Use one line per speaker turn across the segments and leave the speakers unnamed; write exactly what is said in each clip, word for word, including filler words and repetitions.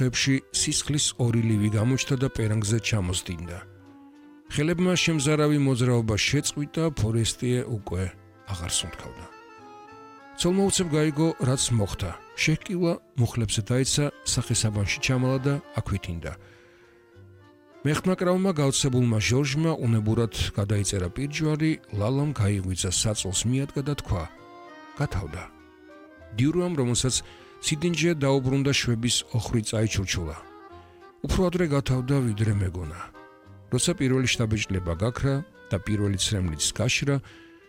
კუთხეებში სისხლის ორი ლივი გამოჩნდა და პერანგზე ჩამოსდინდა. ხელებმა შემზარავი მოძრაობა შეწყვიტა, ფორესტიე უკვე აღარ სუნთქავდა. ცოლმოუცებ გაიგო, რაც მოხდა. შეჰკივა მუხლებზე დაეცა, სახესაბანში ჩამალა და აქვითინდა. მეხმაკრავმა გაოცებულმა ჟორჟმა უნებურად გადაიწერა პირჯვარი, ლალამ გაიღვიძა საწოლს მიადგა და თქვა: გათავდა. დიურუამ, რომელსაც სიდინჯე დაუბრუნდა, შვების ოხვრი წაიჩურჩულა. უფრო ადრე გათავდა, ვიდრე მეგონა. როცა პირველი შთაბეჭდილება გაქრა და პირველი ცრემლიც გაშრა,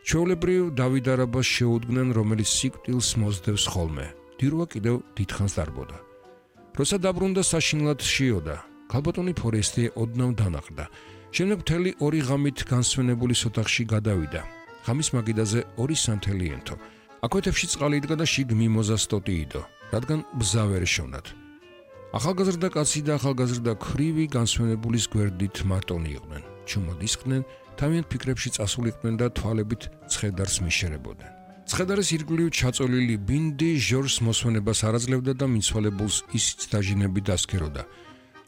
ჩვეულებრივ დავიდარებას შეუდგნენ, რომელიც სიკვდილს მოსდევს ხოლმე. დიურუა კიდევ დიდხანს დარბოდა. როცა დაბრუნდა, საშინლად შიოდა. ქალბატონი ფორესტიე ოდნავ დანაყდა. შემდეგ მთელი ორი ღამით განსვენებულის ოთახში გადავიდა. ღამის მაგიდაზე ორი სანთელი ენთო. აკვეთებში წყალი იდგა და შიგ მიმოზა სტოტიიდო, რადგან ბზა ვერ ეშოვნათ. ახალგაზრდა კაცი და ახალგაზრდა ქვრივი განსვენებულის გვერდით მარტონი იყვნენ. ჩუმად ისხდნენ, თავიანთ ფიქრებში წასულიყვნენ და თვალებით ცხედარს მიშერებოდნენ. ცხედარის ირგვლივ ჩაწოლილი ბინდი ჟორჟს მოსვენებას არ აძლევდა და მიცვალებულს ისიც დაჟინები დასქეროდა.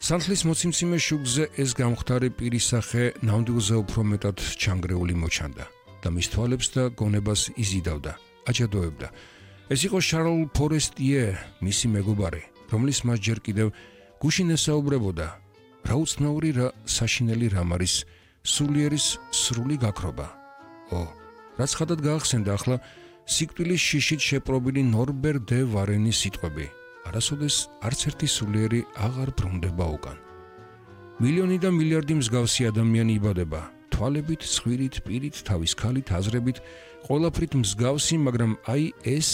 სანთლის მოციმციმე შუგზე ეს გამختარი პირისახე ნამდვილზე უფრო მეტად ჩანგრეული მოჩანდა და მის თვალებს და გონებას იზიდავდა, აჯადოებდა. ეს იყო შარლ ფორესტიე, მისი მეგობარი, რომლის მას ჯერ კიდევ გუშინ ესაუბრებოდა. რა უცნაური, რა საშინელი რამ არის სულიერის სრული გაქრობა. ო, რაც ხადად გაახსენდა ახლა სიკვდილის შიშით შეპრობილი ნორბერ დე ვარენის სიტყვები. არასოდეს არც ერთი სულიერი აღარ ბრუნდება უკან. მილიონი და მილიარდი მსგავსი ადამიანი იბადება, თვალებით, ცხვირით, პირით, თავის ქალით, აზრებით, ყველაფრით მსგავსი, მაგრამ აი ეს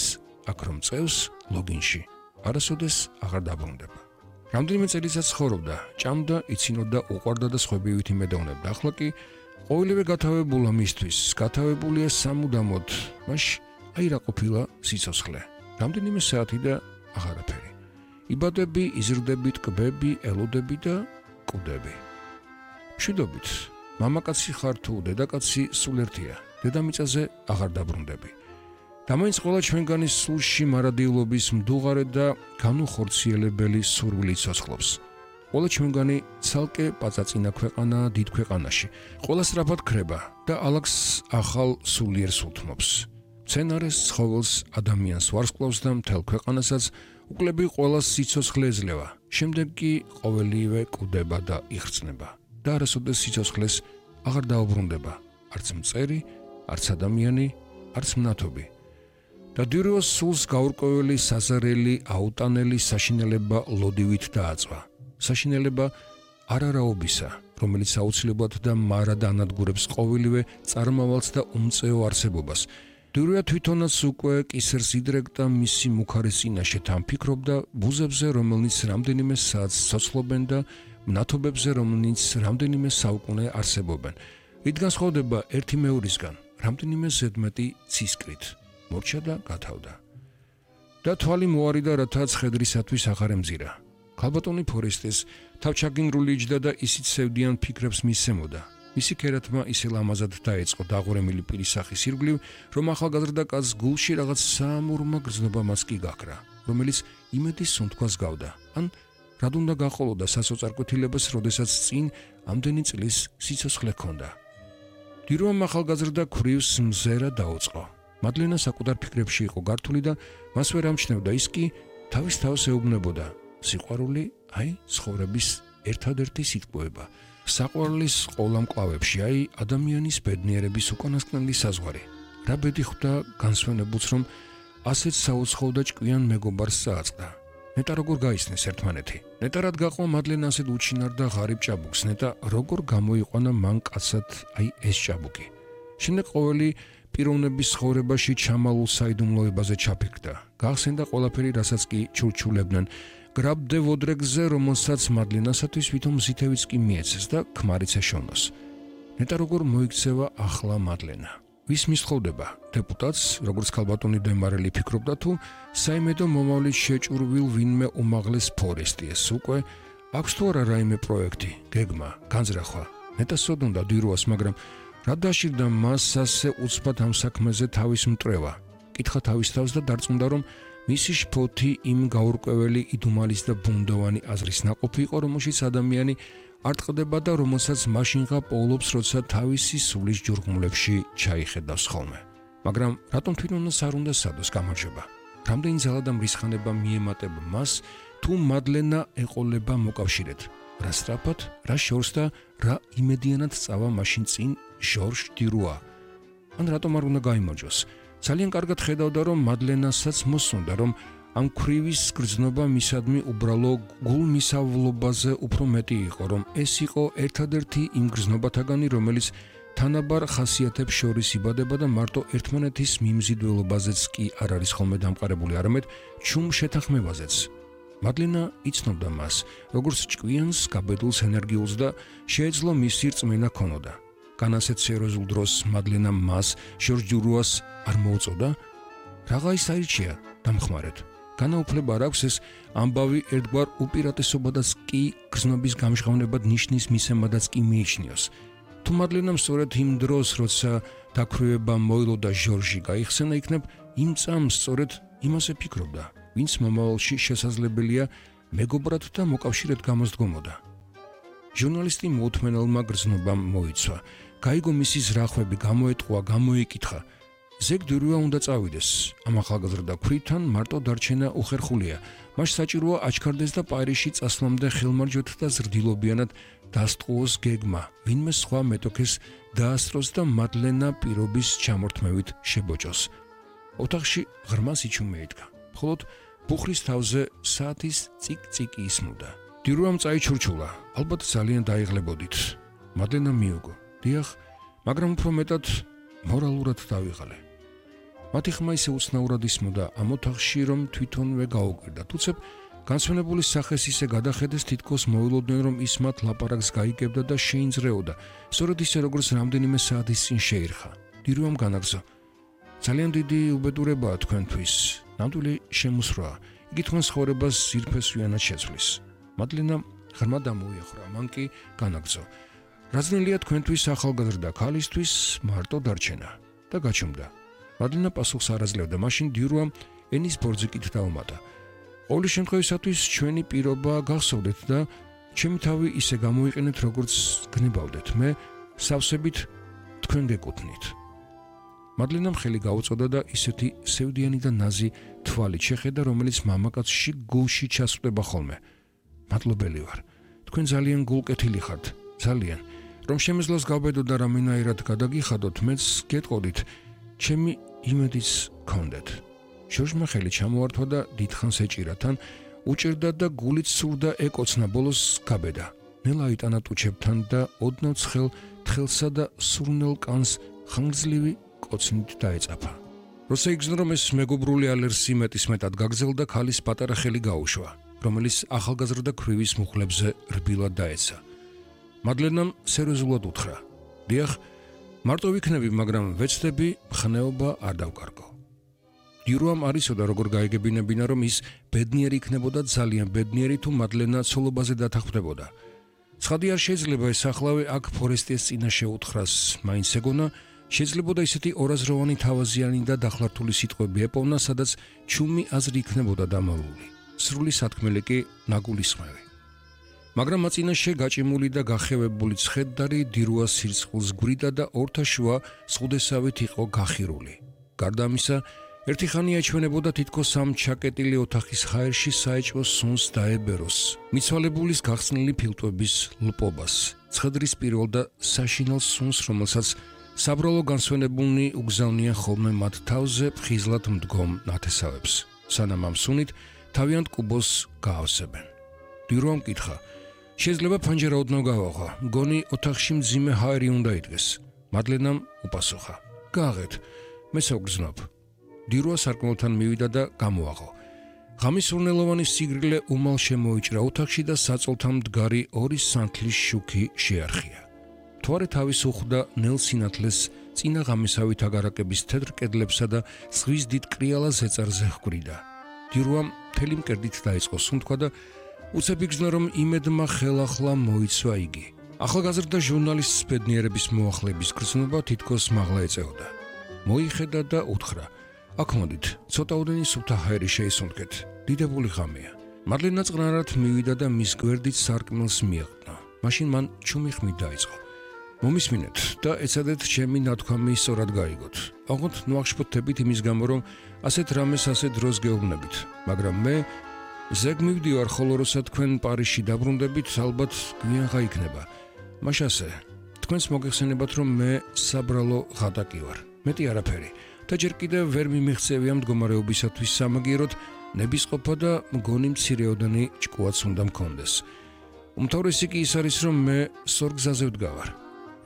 აქ რომ წევს ლოგინში, არასოდეს აღარ დაბრუნდება. რამდენიმე წელიწად ცხოვრობდა, ჭამდა, იცინოდა, უყვარდა და სხვებივით იმედოვნებდა. ახლა კი ყოველივე გათავებულა მისთვის, გათავებულია სამუდამოდ, მაშ აი რა ყოფილა სიცოცხლე. რამდენიმე საათი და აღარაფერი. იბადები, იზრდები, ტკბები, ელოდები და კუდები. მშვიდობით, მამაკაცი ხარ თუ დედაკაცი, სულ ერთია. დედამიწაზე აღარ დაბრუნდები. დამაინც ყველა ჩვენგანის სულში მარადილობის მდუღარე და განუხორციელებელი სურვილი ცოცხლობს. ყველა ჩვენგანი ცალკე პაწაწინა ქვეყანა დიდ ქვეყანაში. ყველა სწრაფად ქრება და ალაგს ახალ სულიერს უთმობს. მცენარეს, ცხოველს, ადამიანს ვარსკვლავს და მთელ ქვეყანასაც უკლები ყველა სიცოცხლე ეძლევა. შემდეგ კი ყოველივე კუდება და იხრწნება და არასოდეს სიცოცხლეს აღარ დაუბრუნდება. არც მწერი, არც ადამიანი, არც მნათობი. და დიურუას სულს გაურკვეველი, საზარელი, აუტანელი საშინელება ლოდივით დააწვა. საშინელება არარაობისა, რომელიც აუცილებლად და მარად ანადგურებს ყოველივე წარმავალს და უმწეო არსებობას. დიურუა თვითონაც უკვე კისერს იდრეკდა მისი მუქარის წინაშე თან ფიქრობდა ბუზებზე, რომელნიც რამდენიმე საათს ცოცხლობენ და მნათობებზე, რომელნიც რამდენიმე საუკუნე არსებობენ. რით განსხვავდება ერთი მეორისგან, რამდენიმე ზედმეტი ცისკრით. მორჩა და გათავდა. და თვალი მოარიდა, რათა ცხედრისათვის აღარ ემზირა. ქალბატონი ფორესტეს თავჩაგინგრული იჯდა და ისიც სევდიან ფიქრებს მისცემოდა. მისი ქერათმა ისე ლამაზად დაეწყო დაღურემილი პირისახის ირგვლივ, რომ ახალგაზრდა კაცს გულში რაღაც საამურმა გრძნობამაც კი გაქრა, რომელიც იმედის სუნთქვას გავდა. ან რად უნდა გაყოლოდა სასოწარკვეთილებას, როდესაც წინ ამდენი წლის სიცოცხლე ჰქონდა. დიურუამ ახალგაზრდა ქვრივს მზერა დაუწყო. მადლენა საკუთარ ფიქრებში იყო გართული და მას ვერ ამჩნევდა, ის კი თავის თავს ეუბნებოდა. სიყვარული, აი, ცხოვრების ერთადერთი სიტყვება. საყვარლის ყოლა მკლავებში, აი, ადამიანის ბედნიერების უკანასკნელი საზღვარი. რა ბედი ხვდა განსვენებულს, რომ ასეთ საუცხოო და ჭკვიან მეგობარს წააწყდა. ნეტა როგორ გაიცნეს ერთმანეთი. ნეტა რად გაყვა მადლენა ასეთ უჩინარ და ღარიბ ჭაბუკს, ნეტა როგორ გამოიყვანა მან კაცად აი ეს ჭაბუკი. შემდეგ ყოველი პიროვნების ცხოვრებაში ჩამალულ საიდუმლოებაზე ჩაფიქრდა. გახსენდა ყველაფერი, რასაც კი ჩურჩულებდნენ. გრაბ დე ვოდრეგზე, რომელსაც მადლენასათვის ვითომ მზითევიც კი მიეცეს და ქმარიც ეშოვნოს. ნეტა როგორ მოიქცევა ახლა მადლენა. ვის მისხოვდება? დეპუტატს, როგორც ქალბატონი დემარელი ფიქრობდა, თუ საიმედო მომავლით შეჭურვილ ვინმე უმაღლეს ფორესტიეს უკვე აქვს თუ არა რაიმე პროექტი, გეგმა, განზრახვა. ნეტა სოდონდა დიურუას, მაგრამ რა დაშირდა მას ასე უცბად ამ საქმეზე თავის მტრევა. კითხა თავის თავს და დარწმუნდა, რომ მისი შფოთი იმ გაურკვეველი იდუმალის და ბუნდოვანი აზრის ნაყოფი იყო, რომელშიც ადამიანი არ ტყდება და რომელსაც მაშინღა პოულობს, როცა თავისი სულის ჯურღმლებში ჩაიხედავს ხოლმე. მაგრამ რატომ თვითონაც არ უნდა სადოს გამარჯვება? რამდენი ძალა და მრისხანება მიემატება მას, თუ მადლენა ეყოლება მოკავშირედ? რა სწრაფად, რა შორს და რა იმედიანად წავა მაშინ წინ ჟორჟ დირუა? ან რატომ არ უნდა გაიმარჯვოს? ძალიან კარგად ხედავდა, რომ მადლენასაც მოსუნდა, რომ ამ ქვრივის გრძნობა მისადმი უბრალო გულმისავლობაზე უფრო მეტი იყო, რომ ეს იყო ერთადერთი იმ გრძნობათაგანი, რომელიც თანაბარ ხასიათებს შორის იბადება და მარტო ერთმანეთის მიმზიდველობაზეც კი არ არის ხოლმე დამყარებული, არამედ ჩუმ შეთანხმებაზეც. მადლენა იცნობდა მას, როგორც ჭკვიანს, გაბედულს, ენერგიულს და შეეძლო მისი რწმენა ქონოდა. განასეთ სერიოზულ დროს მადლენა მას ჟორჟ დირუას არ მოუწოდა? რაღა ის აირჩია დამხმარედ. განაუფლება არ აქვს ეს ამბავი ერთგვარ უპირატესობადაც კი გრძნობის გამჟღავნებად ნიშნის მისემადაც კი მიიჩნიოს. თუ მადლენამ სწორედ იმ დროს, როცა დაქვრივება მოილო და ჟორჟი გაიხსენა, იქნებ იმ წამს სწორედ იმაზე ფიქრობდა, ვინც მომავალში შესაძლებელია მეგობრად და მოკავშირედ გამოსდგომოდა. ჟურნალისტი მოუთმენელმა გრძნობამ მოიცვა. გაიგო მისი ზრახვები, გამოეტყვა, გამოიკითხა. ზეგ დირუა უნდა წავიდეს. ამ ახალგაზრდა ქვითან მარტო დარჩენა უხერხულია. მას საჭიროა აჩქარდეს და პარიზში წასვლამდე ხელმარჯვეთ და ზრდილობიანად დასტყუოს გეგმა, ვინმე სხვა მეტოქეს დაასწროს და მადლენა პირობის ჩამორთმევით შებოჭოს. ოთახში ღრმა სიჩუმე იდგა. მხოლოდ ბუხრის თავზე საათის წიკ-წიკი ისმოდა. დირუამ წაიჩურჩულა. ალბათ ძალიან დაიღლებოდით. მადლენა მიუგო. დიახ, მაგრამ უფრო მეტად მორალურად დავიღალე. მათი ხმა ისე უცნაურად ისმოდა ამ ოთახში, რომ თვითონვე გაუკვირდა. თუცებ განსვენებული სახეს ისე გადახედეს, თითქოს მოულოდნენ, რომ ის მათ ლაპარაკს გაიგებდა და შეინძრეოდა, სწორედ ისე როგორც რამდენიმე საათის წინ შეირხა. დირუამ განაგზო. ძალიან დიდი უბედურებაა თქვენთვის. ნამდვილი შემოსროა. იგი თქვენს ცხოვრებას ძირფესვიანად შეცვლის. მადლენა ღრმა დამოიახრა, მან კი განაგზო. რაზნელია თქვენთვის ახალგაზრდა ქალისთვის მარტო დარჩენა და გაჩუმდა. მადლენა პასუხს არ აძლევდა, მაშინ დირუამ ენის ბორძიკით დაუმატა. ყოველი შემთხვევისათვის ჩვენი პირობა გახსოვდეთ და ჩემი თავი ისე გამოიყენეთ, როგორც გნებავდეთ. მე სავსებით თქვენ გეკუთვნით. მადლენამ ხელი გაუწოდა და ისეთი სევდიანი და ნაზი თვალით შეხედა, რომელიც მამაკაცში გულში ჩასვდება ხოლმე. მადლობელი ვარ. თქვენ ძალიან გულკეთილი ხართ, ძალიან. რომ შემეძლოს გავბედო და რამენაირად გადაგიხადოთ, მეც გეტყოდით, ჩემი იმედიც გქონდეთ. ჟორჟმა ხელი ჩამოართვა და დიდხანს ეჭირა, თან უჭირდა და გულით სურდა ეკოცნა, ბოლოს გაბედა. ნელა იტანა ტუჩებთან და ოდნავ ცხელ თხელსა და სურნელ კანს ხანგრძლივი კოცნით დაეწაფა. როცა იგრძნო, რომ ეს მეგობრული ალერსი მეტისმეტად გაგზელდა, ქალის პატარა ხელი გაუშვა, რომელიც ახალგაზრდა ქვრივის მუხლებზე რბილად დაეცა. მადლენამ სერიოზულად უთხრა. დიახ, მარტო ვიქნები, მაგრამ ვეცდები მხნეობა არ დავკარგო. დირუამ არ იცოდა, როგორ გაიგებინებინა, რომ ის ბედნიერი იქნებოდა, ძალიან ბედნიერი, თუ მადლენა ცოლობაზე დათანხმდებოდა. ცხადი არ შეიძლება ეს ახლავე აქ ფორესტიეს წინაშე უთხრას, მაინც ეგონა, შეიძლებოდა ისეთი ორაზროვანი თავაზიანი და დახლართული სიტყვები ეპოვნა, სადაც ჩუმი აზრი იქნებოდა დამალული. სრული სათქმელი კი ნაგულისხმევი. მაგრამ მაწინაშე გაჭიმული და გახევებული ცხედარი დირუას სირცხვილს გვრიდა და ორთაშუა სხუდესავით იყო გახირული. გარდა ამისა, ერთი ხანი აჩვენებოდა თითქოს ამ ჩაკეტილი ოთახის ხაერში საეჭვო სუნს დაებეროს, მიცვალებულის გახსნილი ფილტვების ლპობას, ცხედრის პირველ და საშინელ სუნს, რომელსაც საბრალო განსვენებულნი უგზავნიან ხოლმე მათ თავზე ფხიზლად მდგომ ნათესავებს, სანამ ამ სუნით თავიანთ კუბოს გაავსებენ. დირუამ კითხა, შეიძლება ფანჯარა ოდნავ გავაღო, მგონი ოთახში მძიმე ჰაერი უნდა იდგეს. მადლენამ უპასუხა, გააღეთ, მე საგრძნობ. დირუა სარკმელთან მივიდა და გამოაღო. ღამის სურნელოვანი სიგრილე უმალ შემოიჭრა ოთახში და საწოლთან მდგარი ორი სანთლის შუქი შეარხია. მთვარე თავის უხვდა ნელ სინათლეს წინა ღამისავით აგარაკების თეთრ კედლებსა და ზღვის დიდ კრიალა ზეწარზე ჰგვრიდა. დირუამ მთელი მკერდით დაიწყო სუნთქვა და უცებ იგრძნო, რომ იმედმა ხელახლა მოიცვა იგი. ახალგაზრდა ჟურნალისტის ბედნიერების მოახლების გრძნობა თითქოს მაღლა ეწეოდა. მოიხედა და უთხრა, აქ მოდით, ცოტაოდენი სუფთა ჰაერი შეისუნთქეთ. დიდებული ღამეა. მარლენა წყნარად მივიდა და მის გვერდით სარკმელს მიეყნა. მაშინ მან ჩუმი ხმით დაიწყო. მომისმინეთ და ეცადეთ ჩემი ნათქვამი სწორად გაიგოთ. ოღონდ ნუახშფოთებით იმის გამო, რომ ასეთ რამეს ასე დროს გეუბნებით, მაგრამ მე ზეგ მივდივარ, ხოლო როცა თქვენ პარიზში დაბრუნდებით, ალბათ გვიან გაიქნება. მაშასე, თქვენს მოგეხსენებათ, რომ მე საბრალო ღატაკი ვარ. მეტი არაფერი. და ჯერ კიდევ ვერ მიმიღწევია მდგომარეობისათვის სამაგიეროდ ნებისყოფა და მგონი მცირეოდენი ჭკუაც უნდა მქონდეს. უმთავრესი კი ის არის, რომ მე სორგზაზე ვდგავარ.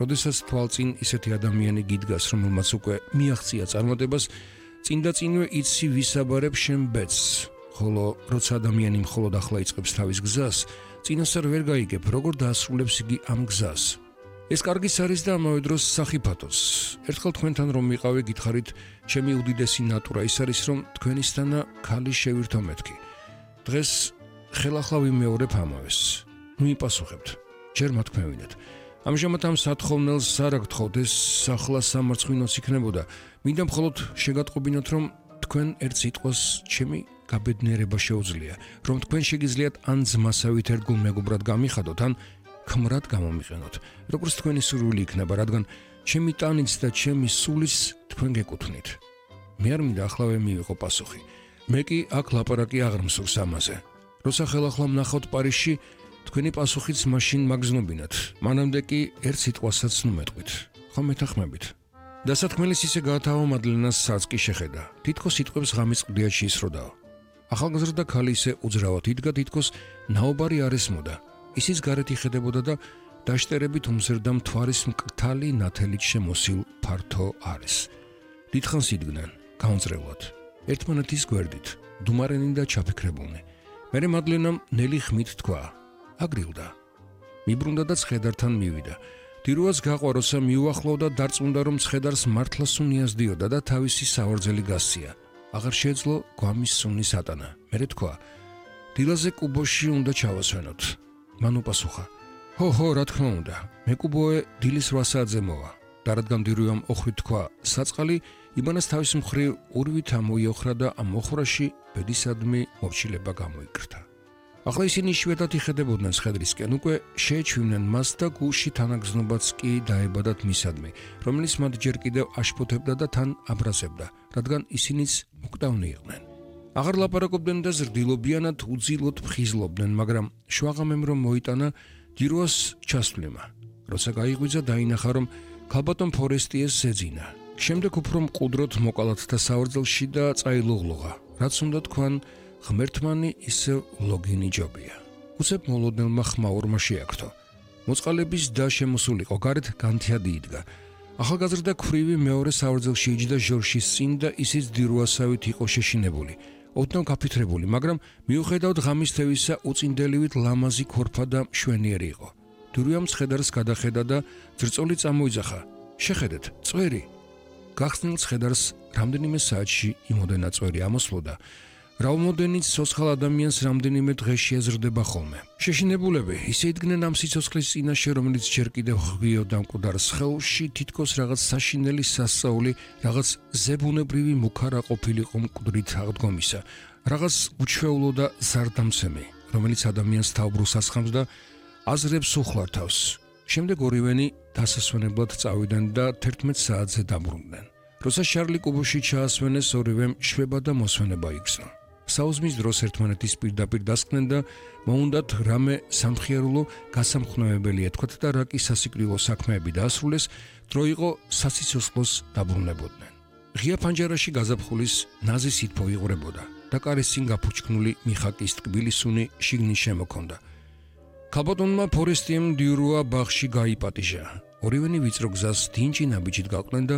როდესაც თვალწინ ისეთი ადამიანი გიდგას, რომელმაც უკვე მიაღწია წარმოდებას, წინ და წინვე იცი ვისაბარებ შენ ბედს, ხოლო როცა ადამიანი მხოლოდ ახლა იწყებს თავის გზას, წინასწარ ვერ გაიგებ, როგორ დაასრულებს იგი ამ გზას. ეს კარგიც არის და ამავე დროს სახიფათოც. ერთხელ თქვენთან რომ ვიყავი, გითხარით, ჩემი უდიდესი ნატურა ის არის, რომ თქვენისთანა ქალი შევირთო მეთქი. დღეს ხელახლა ვიმეორებ ამავეს. ნუ იპასუხებთ. ჯერ მათქმევინეთ. ამჟამად ამ სათხოვნელს არ აგთხოვთ, ეს ახლა სამარცხვინოც იქნებოდა. მინდა მხოლოდ შეგატყობინოთ, რომ თქვენ ერთ სიტყვას ჩემი გაბედნიერება შეუძლია, რომ თქვენ შეგიძლიათ ან ძმასავით ერთგულ მეგობრად გამიხადოთ, ან ქმრად გამომიყენოთ, როგორც თქვენი სურვილი იქნება, რადგან ჩემი ტანიც და ჩემი სულიც თქვენ გეკუთვნით. მე არ მინდა ახლავე მივიღო პასუხი. მე კი აქ ლაპარაკი აღარ მსურს ამაზე. როცა ხელახლა ვნახავთ პარიზში, თქვენი პასუხიც მაშინ მაგზნობინათ. მანამდე კი ერთ სიტყვასაც ნუ მეტყვით. ხომ მეთანხმებით? დასათქმელის ისე გაათავა მადლენას სარწკი შეხედა. თითქოს სიტყვებს ღამის ყდიად შეისროდაო. ახალგაზრდა ქალი ისე უძრავად იდგა, თითქოს ნაობარი არ ესმოდა. ისიც გარეთ იხედებოდა და დაშტერებით უმზერდა მთვარის მკრთალი ნათელით შემოსილ ფართო არის. დიდხანს იდგნენ, გაუნწრებლად, ერთმანეთის გვერდით, დუმარენი და ჩაფიქრებულნი. მერე მადლენამ ნელი ხმით თქვა: აგრილდა. მიბრუნდა და ცხედართან მივიდა. დიროაც გაყვა, როცა მიუახლოვდა, დარწმუნდა, რომ ცხედარს მართლა სუნი ასდიოდა და თავისი სავარძელი გასცია. აღარ შეეძლო გვამის სუნის ატანა. მერე თქვა: დილაზე კუბოში უნდა ჩავასვენოთ. მან უპასუხა: ჰო ჰო, რა თქმა უნდა, მე კუბოე დილის რვა საათზე მოვა. და რადგან დირუამ ოხრით თქვა საწყალი, იბანას თავის მხრივ ურვით ამოიოხრა და ამ ოხრაში ბედისადმი მორჩილება გამოიკრთა. ახლა ისინი იშვიათად იხედებოდნენ ცხედრისკენ, უკვე შეეჩვივნენ მას და გულში თანაგზნობაც კი დაებადათ მისადმი, რომელიც მათ ჯერ კიდევ აშფოთებდა და თან აბრაზებდა, რადგან ისინიც მკვდავნი იყვნენ. აღარ ლაპარაკობდნენ და ზრდილობიანად უძილოდ ფხიზლობდნენ, მაგრამ შვაღამემ რომ მოიტანა, დიროას ჩასვლემა. როცა გაიღვიძა, დაინახა, რომ ქალბატონ ფორესტიეს ზეძინა. შემდეგ უფრო მყუდროდ მოკალათ და საوردელში და წაილოღლოღა, რაც უნდა თქვან, ღმერთმანი ისევ ლოგინი ჯობია. უცებ მოლოდნელმა ხმაურმა შეაქრთო. მოწყალების და შემოსულიყო, გარეთ განთიადი იდგა. ახალგაზრდა ქვრივი მეორე საوردელში იჯდა ჟორშის წინ და ისიც დიროასავით იყო შეშინებული. ოდნავ გაფითრებული, მაგრამ მიუხედავად ღამის თევისა, უწინდელივით ლამაზი ქორფა და მშვენიერი იყო. დირუამ ცხედარს გადახედა და ძრწოლი წამოიძახა: შეხედეთ, წვერი. გახსნილ ცხედარს რამდენიმე საათში იმოდენა წვერი ამოსვლოდა, რავმოდენიც სოცხალ ადამიანს რამდენიმე დღეში ეზრდება ხოლმე. შეშინებულები ისე იდგნენ ამ სიცოცხლის წინაშე, რომელიც ჯერ კიდევ ღვიოდა მკვდარ სხეულში, თითქოს რაღაც საშინელი სასწაული, რაღაც ზებუნებრივი მუქარა ყოფილიყო მკვდრით აღდგომისა, რაღაც უჩვეულო და ზარდამცემი, რომელიც ადამიანს თავბრუსს ასხამს და აზრებს უხლართავს. შემდეგ ორივენი დასასვენებლად წავიდნენ და თერთმეტ საათზე დაბრუნდნენ. როცა შარლი კუბოში ჩაასვენეს, ორივემ შვება და მოსვენება იგრძნო. საუზმის დროს ერთმანეთის პირდაპირ დასკდნენ და მოუნდათ რამე სამხიარულო გასამხნევებელი ეთქვათ და რა კი სასიკვდილო საქმეები დაასრულეს, დრო იყო სასიცოცხლოს დაბრუნებოდნენ. ღია ფანჯარაში გაზაფხულის ნაზი სითბო იღვრებოდა და კარის წინ გაფუჩქნული მიხაკის ტკბილი სუნი შიგნით შემოქონდა. ქალბატონმა ფორესტიემ დიურუა ბაღში გაიპატიჟა. ორივენი ვიწრო გზას დინჯი ნაბიჯით გაყვნენ და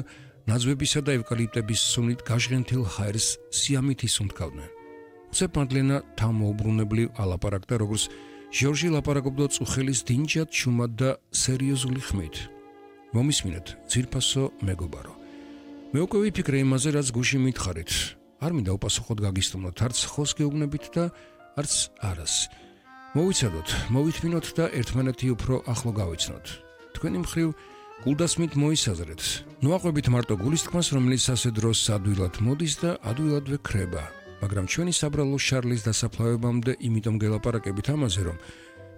ნაძვებისა და ევკალიპტების სუნით გაჟღენთილ ჰაერს სიამით ისუნთქავდნენ. უცებ მადლენა თავმოუბრუნებლივ ალაპარაკდა, როგორც ჟორჟი ლაპარაკობდა წუხელის დინჯად ჩუმად და სერიოზული ხმით. მომისმინეთ, ძირფასო მეგობარო. მე უკვე ვიფიქრე იმაზე, რაც გუში მითხარით. არ მინდა უპასუხოდ გაგისტუმროთ, არც ხოს გეუბნებით და არც არას. მოვიცადოთ, მოვითმინოთ და ერთმანეთი უფრო ახლო გავიცნოთ. თქვენი მხრივ გულდასმით მოისაზრეთ. ნუაყვებით მარტო გულისთქმას, რომელიც ასე დროს ადვილად მოდის და ადვილადვე ქრება. მაგრამ ჩვენი საბრალო შარლის დასაფლავებამდე იმიტომ გელაპარაკებით ამაზე, რომ